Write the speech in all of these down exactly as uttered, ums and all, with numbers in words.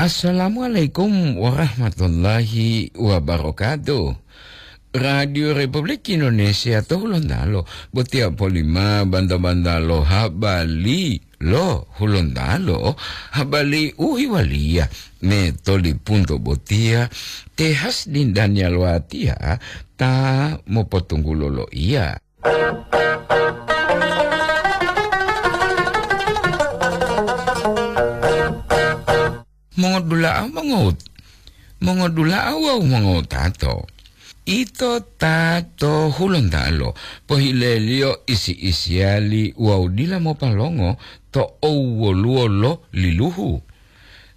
Assalamualaikum warahmatullahi wabarakatuh. Radio Republik Indonesia to Hulontalo, botiya polima banta-banta lo habari lo Hulontalo, habari u hiwaliya me tolipunto botiya, te Hasdin Daniel Watiya ta mopotunggulo lo iya. Mongodula'a mongot-, mongodula'a wawu mongotato. Ito ta to Hulontalo, pohileliyo isi-isiyali wawu dila mopalongo to owwoluwo lo liluhu.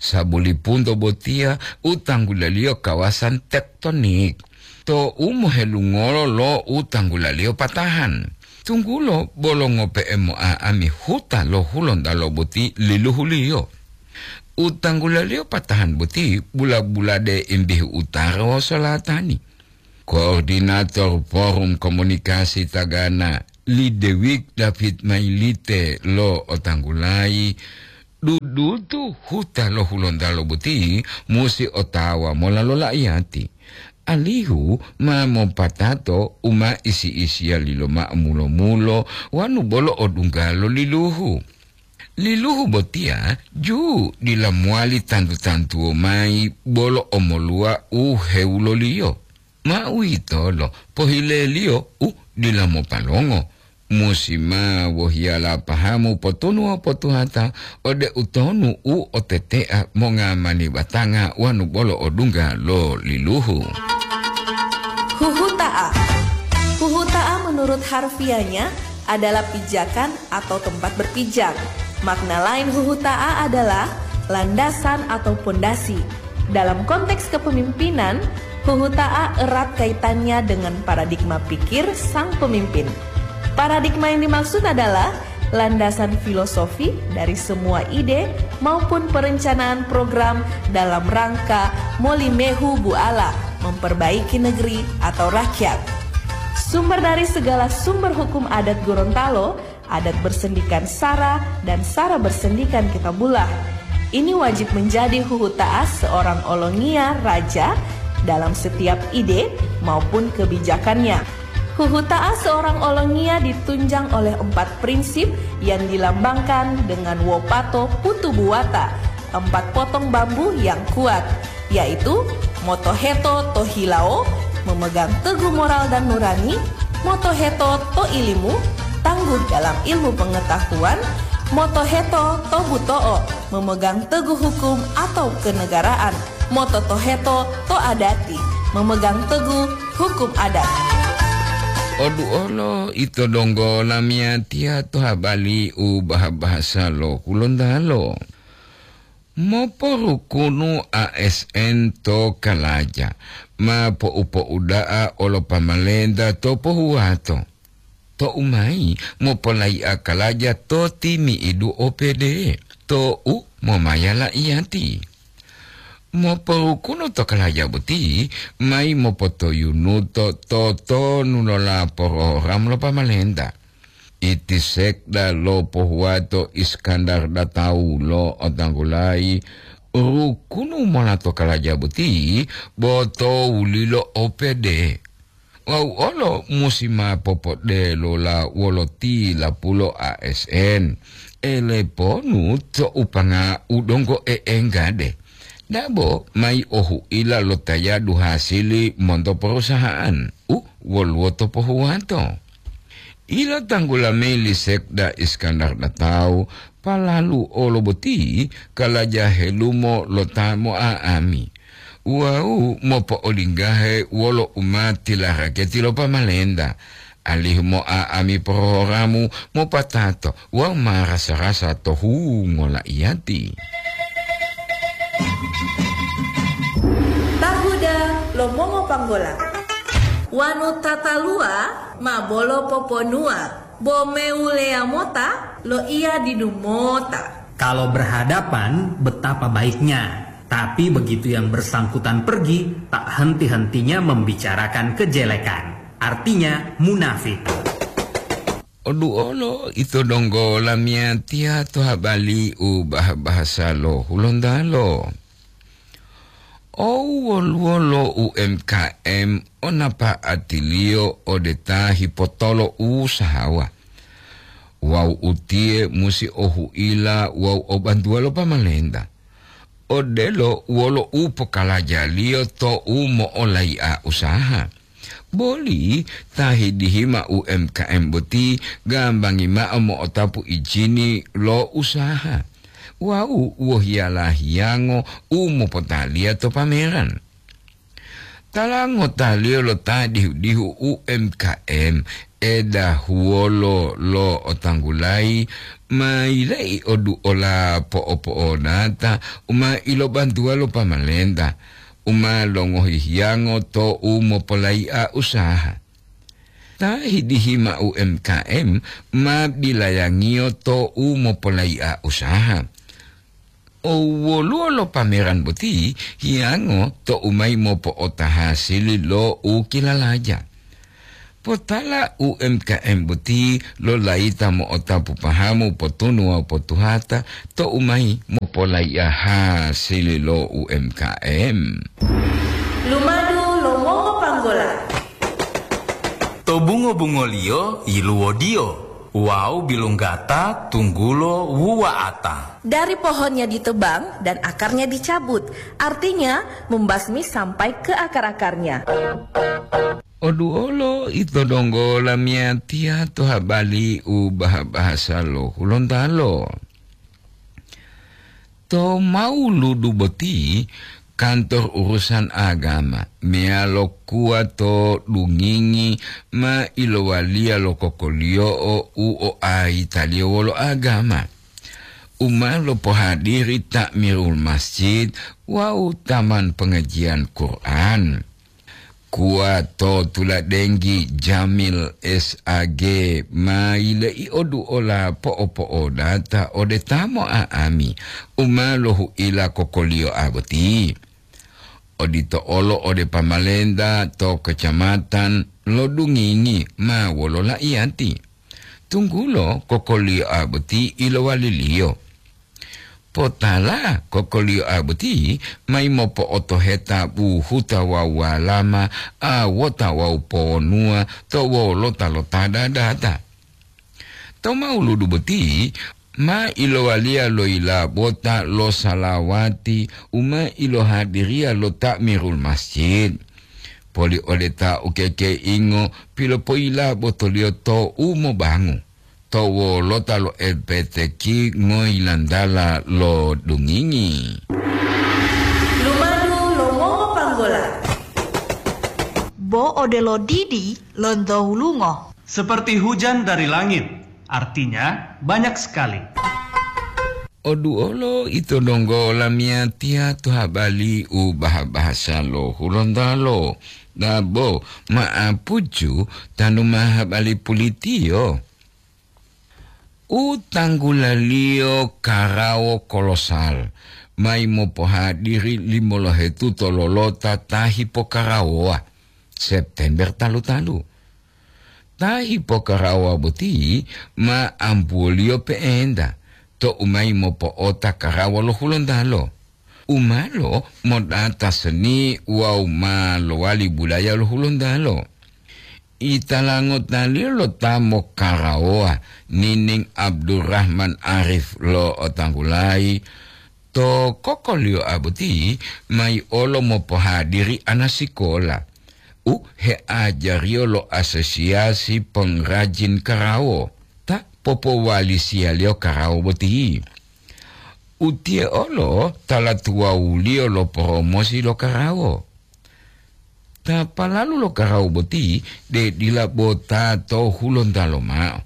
Sabulipunto botiya u tanggulaliyo kawasan tektonik, to u mohelungolo lo u tanggulaliyo patahan. Tunggulo bolo ngope'e mo'a'ami huta lo Hulontalo boti liluhuliyo. U tanggulaliyo patahan boti bula-bulade imbihu utara wawu solatani. Koordinator Forum Komunikasi Tagana, Lidewik David Mailite lo otanggulayi, dudutu huta lo Hulontalo boti musi otawa mola lo la'iyati, alihu ma mopatato u ma isi-isiyali lo ma'amulo-mulo wanu bolo odungga lo liluhu. Liluhu botiya ju dila mowali tantu-tantuwo mayi bolo omoluwa u hewuloliyo. Ma uwitolo pohileliyo u dila mopalongo, musi ma wohiyala pahamu potunu wawu potuhata ode utonu u otetea mongamani batanga wanu bolo odungga lo liluhu. Huhuta'a. Huhuta'a menurut harfiahnya adalah pijakan atau tempat berpijak. Makna lain huhuta'a adalah landasan atau pondasi. Dalam konteks kepemimpinan, huhuta'a erat kaitannya dengan paradigma pikir sang pemimpin. Paradigma yang dimaksud adalah landasan filosofi dari semua ide maupun perencanaan program dalam rangka molimehu buala memperbaiki negeri atau rakyat. Sumber dari segala sumber hukum adat Gorontalo, adat bersendikan sara dan sara bersendikan kitabullah. Ini wajib menjadi huhuta'a seorang olongiya raja dalam setiap ide maupun kebijakannya. Huhuta'a seorang olongiya ditunjang oleh empat prinsip yang dilambangkan dengan wopato putu buwata, empat potong bambu yang kuat, yaitu motoheto to hilawo, memegang teguh moral dan nurani, motoheto to ilimu, tangguh dalam ilmu pengetahuan, motoheto to buto'o, memegang teguh hukum atau kenegaraan, mototoheto to adati, memegang teguh hukum adat. Oduolo ito donggo lamiyatiya to habari u baha-bahasa lo Hulontalo. Moporukunu A S N to kalaja, ma po'u-po'uda'a olo pamalenta to pohuwato. To'u mayi mopolai'a kalaja to timi'idu O P D, to'u momaya la'iyati. Moporukunu to kalaja boti mayi mopotoyunuto totonu lo lapororam lo pamalenta. Iti sekda lo pohuwato Iskandar Datau lo otanggulayi rukunu mola to kalaja boti bo to wulilo O P D. Wawu olo musi ma popodelola wolo tilapulo A S N, eleponu to upanga u donggo e'enggade. Dabo mayi ohu'ila lo tayadu hasili monto perusahaan u woluwo to pohuwato. Ilotanggula mayi li Sekda Iskandar Datau, palalu olo boti kalaja helumo lo ta mo'a'ami wawu mopo'olinggahe wolo u ma tilaraketi lo pamalenta, alihu mo'a'ami porohoramu mopatato wawu ma rasa-rasa to hungo la'iyati. Tahuda lo mongopanggola. Wanu tataluwa ma bolo poponuwa, bo mewuleya mota lo iya didu mota. Kalau berhadapan, betapa baiknya. Tapi begitu yang bersangkutan pergi, tak henti-hentinya membicarakan kejelekan. Artinya, munafik. Oduolo ito donggo lamiyatiya to habari u bah-bahasa lo Hulontalo. Ou woluwo lo U M K M o napa'atiliyo ode ta hipotolo usahawa. Wawu utiye musi o huila wawu o bantuwa lo pamalenta, odelo wolo u pokalajaliyo tou mo'olai'a usaha. Boli ta hidihima U M K M boti gambangi mao mo'otapu ijini lo usaha wawu wohiyala hiyango u mopotaliya to pameran. Tala ngotaliyo lo ta dihu-dihu U M K M, edahuwolo lo otanggulayi, ma yila'i oduola po'opo'onata u ma ilobantuwa lo pamalenta, u ma longohi hiyango tou mopolai'a usaha. Ta hidihima U M K M ma bilayangiyo tou mopolai'a usaha. O woluwo lo pameran boti hiyango tou mayi mopo'ota hasili lo u kilalaja. Potala U M K M boti lo layita mo'otapu pahamu potunu wawu potuhata tou mayi mopolai'a hasili lo U M K M. Lumadu lo mongopanggola. To bungo-bungoliyo yiluwodiyo wawu bilunggata tunggulo wuwa'ata. Dari pohonnya ditebang dan akarnya dicabut, artinya membasmi sampai ke akar-akarnya. Oduolo ito donggo lamiyatiya to habali u baha-bahasa lo Hulontalo. To Mauludu boti, kantor urusan agama meyalo kuwa to Dungingi ma ilowaliya lo kokoliyo'o u oayitaliyo wolo agama, u ma lopohadiri ta'mirul masjid wawu taman pengajian Quran. Kuwa to tuladenggi Jamil S A G ma yile'i oduola po'opo'odata ode ta mo'a'ami u ma lohu'ila kokoliyo'a boti. Odito olo ode pamalenta to kecamatan lo Dungingi ma wolo la'iyati, tunggulo kokoliyo'a boti ilowaliliyo. Potala kokoliyo'a boti mayi mopo'otoheta buhuta wawu walama, awota wawu powonuwa to wolota lo ta dadata. To Mauludu boti ma ilowaliya lo yilabota lo salawati u ma ilohadiriya lo ta'mirul masjid. Poli ode ta ukekeingo pilopoyilabotoliyo to u mobangu to wolota lo L P T Q ngoyilantala lo Dungingi. Lumadu lo mongopanggola. Bo odelo didi lonto hulungo. Seperti hujan dari langit, artinya banyak sekali. Oduolo ito donggo lamiyatiya to habali u baha-bahasa lo Hulontalo. Dabo ma'apucu tanu ma habali pulitiyo. U tanggulaliyo karawo kolosal mayi mopohadiri limolohetu to lolota ta hipokarawowa, September talu-talu. Ta hipokarawowa boti ma ambuwoliyo pe'enta tou mayi mopo'ota karawa lo Hulontalo, u ma lomodata seni wawu ma lowali budaya lo Hulontalo. Italango taliyo lo ta mokarawowa, Nining Abdurrahman Arif lo Otanggulayi, to kokoliyo'a boti mayi olo mopohadiri anasikola u heajariyo lo Asosiasi Pengrajin Karawo ta popowalisiyaliyo karawo boti. Utiye olo tala tuwawuliyo lo poromosi lo karawo. Ta palalu lo karawo boti de dila bo ta to Hulontalo mao.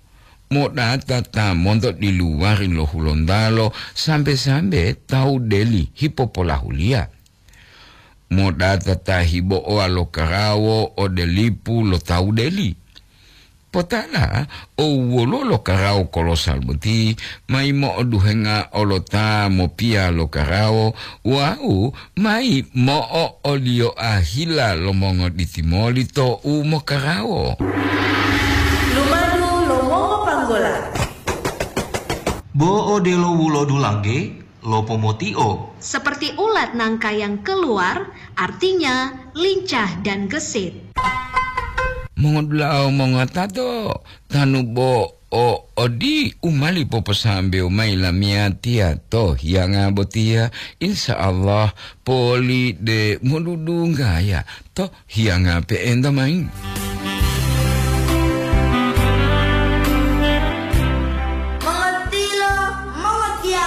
Modata ta monto diluwari lo Hulontalo sambe-sambe tawu deli hipopolahuliya. Modata ta hibo'owa lo karawo ode lipu lo tawu deli. Potala, o woluwo lo karawo kolosal boti, mayi mo'oduhenga olota mopiya lo karawo, wawu mayi mo'o'oliyoa hila lo mongoditi moli to u mokarawo. Lumadu lo mongopanggola. Bo odelo wulodu langge, lopomotio. Seperti ulat nangka yang keluar, artinya lincah dan gesit. Mongodula'a mongatato, tanu bo o odi u mali poposambewo mayi lamiyatiya to hiyanga botiya, insya Allah poli de modudunggaya to hiyanga pe'enta mayi.